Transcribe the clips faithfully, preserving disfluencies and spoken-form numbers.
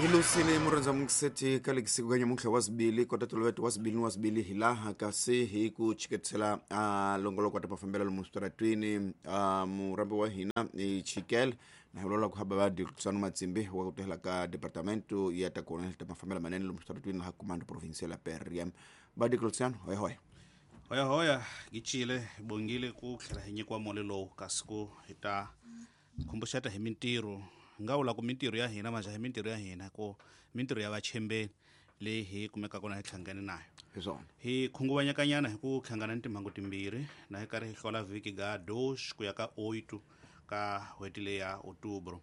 Hilusile murhandza mungiseti ka lekisiku ka nyamuntlha wa zibili kota toloveto wa zibili ni wa zibili hilaha kasi hi ku chiketisela a longoloko wa ta mafambelo lomu switaratwini a murambi wa hina i chikele na hi vulavula ku hava va Luciano Matsimbi wa ku tirhela ka departamento ya ta kona ta mafambelo manene lomu switaratwini laha comando provincial ya P R M. Va Luciano hoya hoya hoya hoya gichile bongile ku tlhela hi nyikiwa mole lowu kasi ku hi ta khumbuxeta hi mintirho nga vula ku mintirho ya hina manje hi mintirho ya hina ku mintirho ya vachembeni leyi hi kumekaka kona hi hlangane nayo hi swona hi khunguvanyakanyana hi ku hlangana ni timhangu timbirhi na hi karhi hi hlola vhiki ga dos ku ya ka oito ka n'hweti leyi ya outubro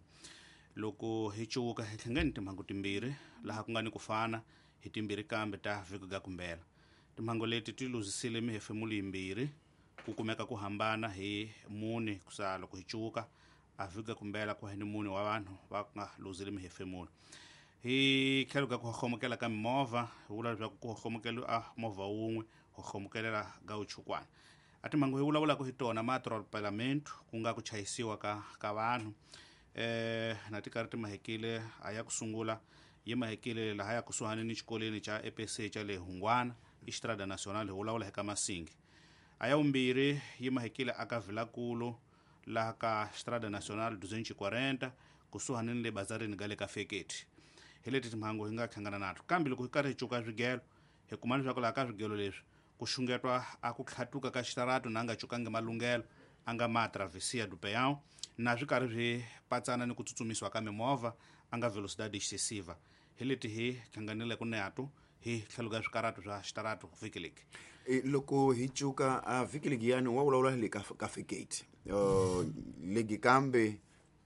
loko hi cuka hi hlangane ni timhangu timbirhi laha ku nga ni ku fana hi timbirhi kambe ta vhiki ga kumbela timhangu leti ti luzisile mihefemulo yimbirhi ku kumeka ku hambana hi mune kusa loko hi cuka a vhiki kumbela ku ni mune wa vanhu va nga luzile mihefemulo hi tlhelo ka ku homokela ka mimovha hi vula leswaku ku homokela a movha wun'we ho homokelela ga uchukwana a timhangu hi vulavulaka hi tona ma atropelamento ku nga ku chayisiwa ka ka vanhu eh na ti karhi ti mahekile a ya ku sungula yi mahekile laha ya kusuhani ni xikolweni xa E P C xa le Hungwana Estrada Nacional hi vulavula hi ka Masingi a ya vumbirhi yi mahekile aka Vilakulu laha ka Estrada Nacional duzentos e quarenta kusuhani ni le bazarini ga le ka Feketi hi leti timhangu hi nga hlangana nato kambe loko hi karhi hi cuka swigelo hi kuma leswaku laha ka swigelo leswi ku xungetwa a ku tlhatuka ka xitarato na nga cukangi malunghelo a nga ma travessia do peão na swi karhi swi patsana ni ku tsutsumisiwa ka mimovha a nga velocidade excessiva hi leti hi hlanganile ku nato hi tlhelo ka swikarato swa xitarato vhiki leki loko hi cuka a vhiki leki yani wa vulavula le ka ka Feketi uh legi kambe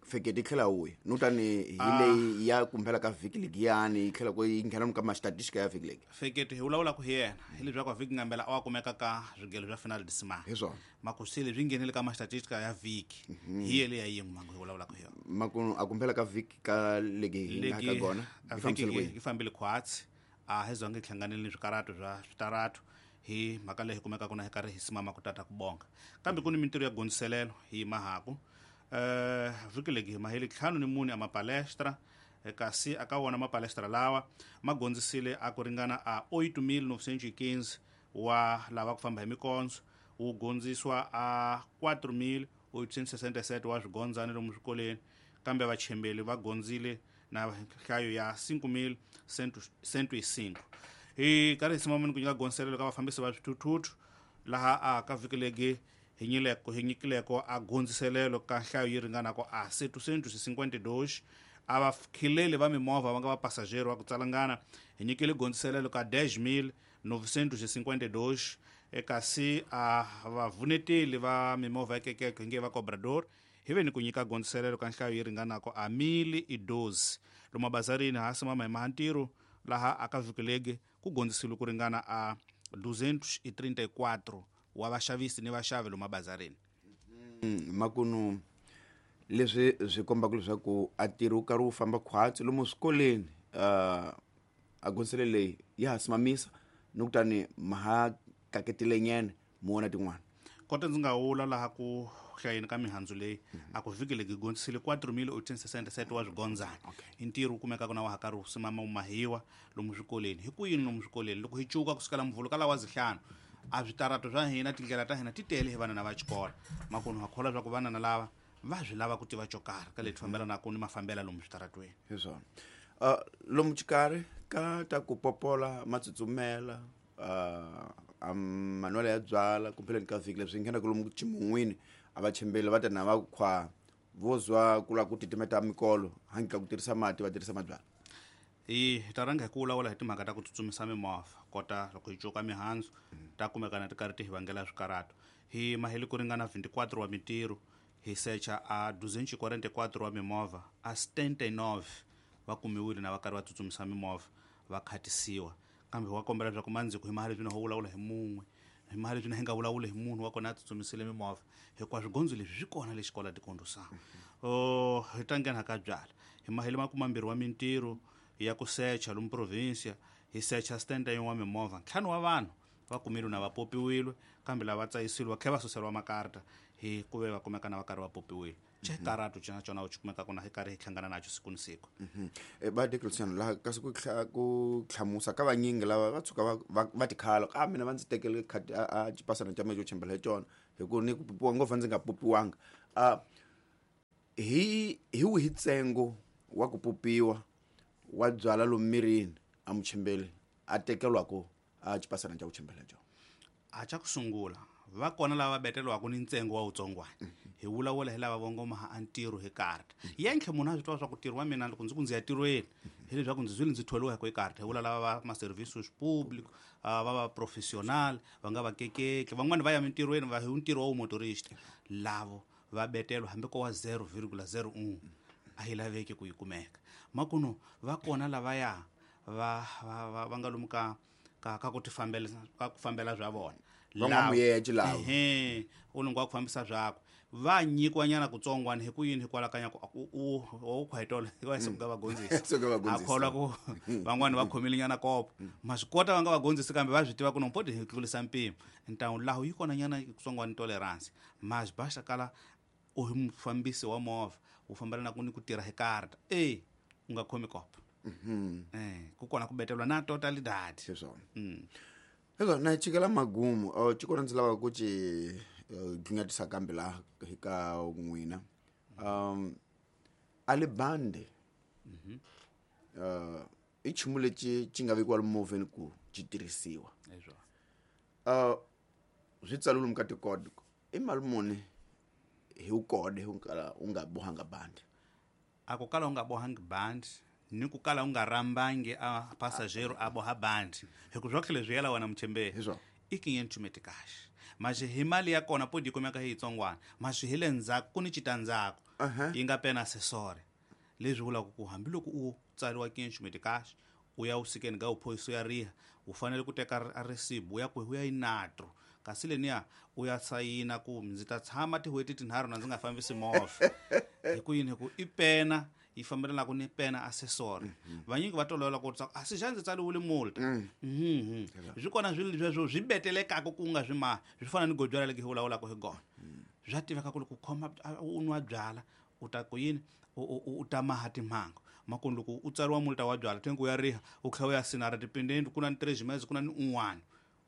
Feketi tlhela wuya no tani hi leyi ya kumbela ka vhiki leki yani tlhela ku yi nghena ka ma statistika ya vhiki leki Feketi hi vulavula ku hi yena hi leswaku vhiki ngambela a wa kumeka ka swigelo swa final decimal hi swona makusile swi nghenile ka ma statistika ya vhiki hi yele ya yin'we mangu hi vulavula ku hi yona makuno a kumbela ka vhiki ka legi hi nga ka gona yi fambile khwatsi a hi zonge hlanganile ni swikarato swa switarato hi mhaka leyi kumekaka na hi karhi hi simama ku tata ku bonga kambe ku ni mintirho ya gondziselelo hi mahaku eh vhiki legi hi maheli ntlhanu ni mune a mapalestra kasi aka wona mapalestra lawa ma gondzisile a ku ringana a oito mil novecentos e quinze wa lava ku famba hi mikondzo wu gondziswa a quatro mil oitocentos e sessenta e sete wa swigondzani lomu swikolweni kambe vachembeli va gondzile na nhlayo ya cinco mil cento e cinco hi karhi hi simamani ku nyika gondziselelo ka vafambisi va swithuthuthu laha a ka vhiki legi hi nyileko hi nyikileko a gondziselelo ka nhlayo yi ringanako a setecentos e cinquenta e dois a vakhileli va mimovha va nga va passageiro va ku tsalangana hi nyikile gondziselelo ka dez mil novecentos e cinquenta e dois kasi a vavuneteli va mimovha ekekeke hi nge va cobrador hi ve ni ku nyika gondziselelo ka nhlayo yi ringanako a mil e doze lomu bazarini ha simama hi mahantirho laha aka vhiki legi ku gondzisile ku ringana a duzentos e trinta e quatro wa vaxavisi ni vaxavi lomu bazarini mm, makunu leswi swi kombaka leswaku a ntirho wu karhi wu famba khwatsi lomu swikolweni uh, a gondzisele leyi ya ha simamisa ni kutani ma ha kaketile nyana mi vona tin'wana kota ndzi nga wula laha ku hlayeni ka mihandzu leyi a ku vhiki legi gondzisile quatro mil oitocentos e sessenta e sete wa swigondzana i ntirho wu kumekaka na wa ha karhi wu simama wu mahiwa lomu swikolweni hi ku yini lomu swikolweni loko hi cuka kusukela muvhulu ka lawa zihlanu a switarato swa hina tindlela ta hina ti tele hi vanana va xikolo makunu ha kholwa swa ku vanana lava va swi lava ku tiva xo karhi ka leti fambelanaka ni mafambela lomu switaratweni hi swona uh, lomu xikarhi ka ta ku popola matsutsumela uh, a manwela ya byala kumbeleni ka vhiki leswi nghenaka lomu ximun'wini a va chembeli va ta na va khwa vo zwa ku lava ku titimeta mikolo hangi ka ku tirhisa mati va tirhisa mabyala hi ta rhanga hi ku vulavula hi timhaka ta ku tsutsumisa mimovha kota loko hi cuka mihandzu ta kumekana ti karhi ti hi vangela swikarato hi maheli ku ringana vinte e quatro wa mintirho hi secha a duzentos e quarenta e quatro wa mimovha a setenta e nove va kumiwile na va karhi va tsutsumisa mimovha va khatisiwa kambe wa kombela leswaku mandziko hi mahali leswi na ho vulavula hi mun'we hi mahali leswi na hi nga vulavuli hi munhu wa kona a tsutsumisile mimovha hikuva swigondzo leswi swi kona le xikola tikondzosana o hi ta nghena ka byala hi maheli makumambirhi wa mintirho ya ku secha lomu provincia hi secha setenta yin'we wa mimovha ntlhanu wa vanhu va kumile na va popiwile kambe lava tsayisiwile va tlhela va suseriwa makarta hi ku ve va kumeka na va karhi va popiwile Xikarato xina xona u kumeka kuna hi karhi hi hlangana nacho siku ni siku. Ba Luciano laha kasi ku ku hlamusa ka vanyingi lava va tshuka va va tikhala ka mina va ndzi tekele khadi a xipasana xa mina xo chembela hi xona hi ku ni ku pupiwa ngopfu ndzi nga pupiwanga. A hi hi wihi ntsengo wa ku pupiwa wa byala lomu mirini a muchembeli a tekeriwaka a xipasana xa ku chembela hi xona? A xa ku sungula va kona lava betelwaka ni ntsengo wa wutsongwana hi vulavula hi lava vongoma a ntirho hi karta yentlhe munhu a swi tiva swa ku ntirho wa mina loko ndzi ku ndzi ya tirhweni hi leswaku ndzi zwile ndzi tholiwa hi ku hi karta hi vula lava va ma-services público va va professional va nga va kekeki van'wani va ya mintirhweni va hi ntirho wa wumotorista lavo va betelwa hambi ko wa zero virgula zero un a yi laveki ku yi kumeka makuno va kona lavaya va va va nga lomu ka ka ka ku tifambela ka ku fambela swa vona van'wamuyeje lava ehe u lungwa ku fambisa byakwe va nyikiwa nyana kutsongwana hi ku yini hikwalaho ka nyako u u khwaitola wa suka va gondzisa a kholwa ku van'wani va khomile nyana kopo ma swi kota va nga va gondzisi kambe va swi tiva ku nompoti hi tlulisa mpimo ntawu laho yi kona nyana kutsongwana tolerance ma swi baxa kala u hi mufambisi wa movha u fambelana ku ni ku tirha hi karta e u nga khomi kopo eh ku kona ku betelwa na total dad swona. Hezwo na chikela magumu o chikona ndzi lava ku ci dlingatisa kambe la ka n'wina um alibande mhm uh i nchumu lexi xi nga vekiwa movheni ku xi tirhisiwa hezwo uh swi tsariwe lomu ka tikode i mali muni hi wu kode u kala u nga bohanga bandi? A ku kala u nga bohangi bandi ni ku kala u nga rambangi a passageiro a boha bandi hi ku swa tlhele swi yela wena muchembeni i quinhentos meticais mas hi mali ya kona podi kumeka hi yitsongwana mas hi le ndzhaku ku ni citandzhaku yi nga pena assessor leswi vulaka ku hambiloko u tsariwa quinhentos meticais u ya usikeni ga uphoyisa ya riha u fanele ku teka a recibo u ya ku u ya inatro kasi leniya u ya sayina ku ndzi ta tshama tin'hweti tinharhu na ndzi nga fambisi movha hi ku yini hi ku i pena yi fambelanaku ni pena assessor vanyingi va tolovela ku a si xa ndzi tsariwile multa mhm swi kona swilo leswo swi betelekaka ku nga swi maha swi fana ni godyala leki hi vulavulaka hi gona swa tiveka ku loko u khoma u nwa byala u ta ku yini u ta maha timhangu makoni loko u tsariwa multa wa byala thengu ya riha u tlhela u ya sinara tipendeni ku na ni três meses ku na ni un'wana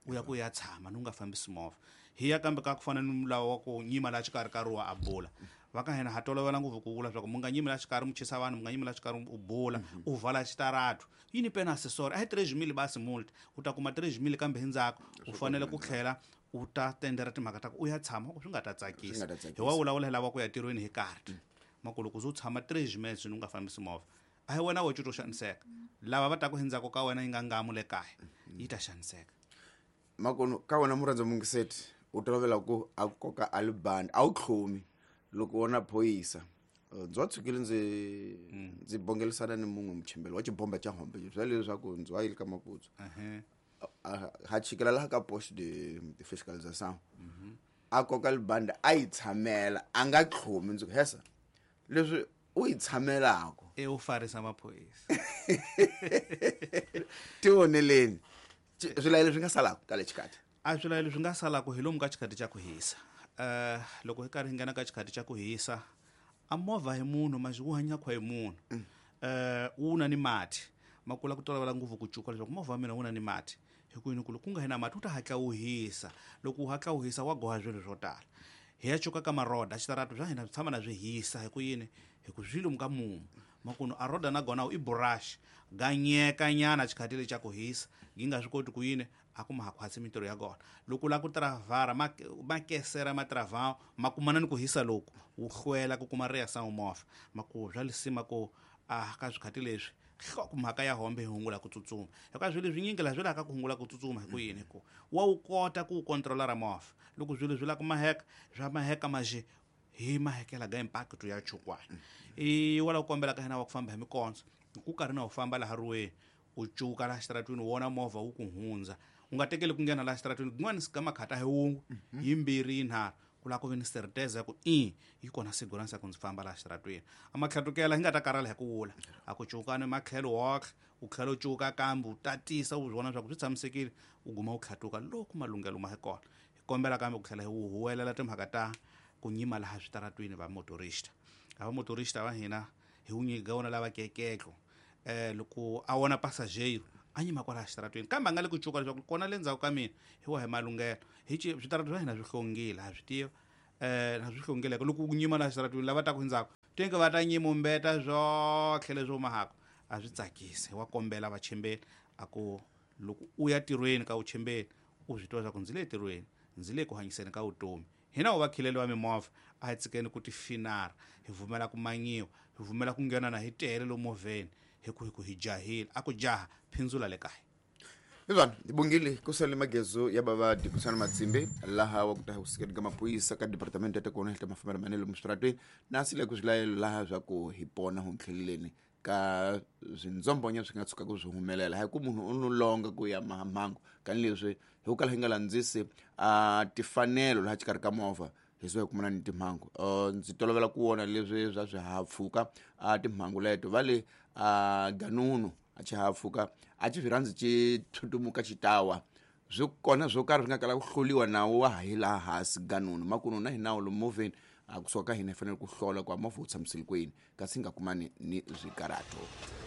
u ya ku ya tshama ni u nga fambisi movha hi ya kambe ka ku fana ni mulawu wa ku nyima laha xikarhi ka ruwa a bula va ka hina ha tolovela ngopfu ku vula swa ku mu nga nyimi laha xikarhi mu chisa vanhu mu nga nyimi laha xikarhi u bula u vala xitarato yi ni pena assessor a hi três mil basi multa u ta kuma três mil kambe hi ndzhaku u fanele ku tlhela u ta tendera timhaka ta ku u ya tshama ku swi nga ta tsakisa hi wa vulavula hi lava ku ya tirhweni hi karta makulu ku u tshama três meses u nga fambisi movha a hi wena wo to xaniseka lava va taku hi ndzhaku ka wena yi nga ngamu le kaya yi ta xaniseka. Makono ka wena murhandza mungiseti u tolovela ku a koka alibandi a wu tlhomi loko wona phoyisa ndzi wa tshukile ndzi ndzi bongelisana ni mun'we muchembeli wa xibomba xa hombe swa leswaku ndzi wa yile ka maputsu ha chikela laha ka poste de, de fiscalisation a koka libandi a yi tshamela a nga tlhomi ndzi ku hesa leswi u yi tshamelaka e u farisa maphorisa tivoneleni swilayelo swi nga salaka ka le xikati a swilayelo swi nga salaka hi lomu ka xikati xa ku hisa uh loko hi karhi hi nghena ka xikati xa ku hisa a movha hi munhu mas wu hanya khwa hi munhu eh wu na ni mati makula ku tolovela ngopfu ku cuka leswaku movha wa mina wu na ni mati hi ku yini ku loko ku nga hi na mati wu ta hatla wu hisa loko wu hatla wu hisa wa goha swilo swo tala hi ya cuka ka maroda xitarato swa hina swi tshama na swi hisa hi ku yini hi ku swi lomu ka mumu makunu a roda na gona i brush ganyeka nyana xikati lexi xa ku hisa yi nga swi koti ku yini a ku ma ha khwatsi mintirho ya gona loko u lava ku travara ma kesera ma travao ma kumana ni ku hisa loku wu hlwela ku kuma reação movha maku swa lisima ku a ka swikhati leswi hloko mhaka ya hombe hi hungula ku tsutsuma hikuva swilo swinyingi laha swi laka ku hungula ku tsutsuma hi ku yini hi ku wa wu kota ku wu controla ra movha loko swilo swi lava ku maheka swa maheka maje hi mahekela ga impact ya chukwana i wala ku kombela ka hina wa ku famba hi mikondzo ku karhi na u famba laha ruweni u cuka laha xitaratwini u vona movha wu ku hundza u nga tekeli ku nghena laha xitaratwini kun'wana sika makhata hi wun'we yimbirhi yinharhu ku lava ku ve ni certeza ya ku i yi kona segurança ya ku ndzi famba laha xitaratwini a matlhatukela hi nga ta karhala hi ku wula a ku cukani matlhelo woxe u tlhela u cuka kambe u tatisa u swi vona leswaku swi tshamisekile u guma u tlhatuka loko malunghelo ma hi kona hi kombela kambe ku tlhela hi huwelela timhaka ta ku nyima laha switaratwini va motorista A va motorista va hina hi wu nyika wona lava keketlo eh loko a wona passageiro a nyima kwala xitaratweni kambe a nga le ku cuka leswaku kona le ndzhaku ka mina hi wa hi malunghelo hi ci switarata swa hina swi hlongile ha swi tiva eh na swi hlongileke loko ku nyima la xitaratweni lava taku endzhaku tinge va ta nyimumbeta zwotlhe leswi humahaka a swi tsakisi wa kombela vachembeli a ku loko u ya tirhweni ka vuchembeli u swi tiva swa ku ndzi le tirhweni ndzi le ku hanyiseni ka vutomi hina wu vakhileli va mimovha a hi tshikeni ku tifinara hi vumela ku manyiwa hi vumela ku nghena na hi tele lomu movheni hi ku hi ku hi jahile a ku jaha phindzula le kaya. Ivan ibungile kusale magezo ya baba dikusana matsimbe laha wa kutaha kusikeni ka mapurisa ka department ya kona hi mafambelo manelo mustratweni na sile ku swilayelo laha swa ku hi pona ho tlheleleni ka swindzombonya swi nga tshuka ku swi humelela hi ku munhu u no longa ku ya mahamhangu kani leswi hi ku kala hi nga landzisi a tifanelo laha xikarhi ka movha hi swi kumana ni timhangu. Ndzi tolovela ku vona leswi swa swihahampfhuka a timhangu leto va le a ganunu a xihahampfhuka a xi swi rhandzi xi tshutumuka xitawa swi kona swo karhi swi nga kala ku hluriwa nawu wa ha hi laha hansi ganunu makunu na hi nawu lomu movheni a kusuka ka hina hi fanele ku hlola ku a movha wu tshamisile kwini kasi hi nga kumani ni swikarato.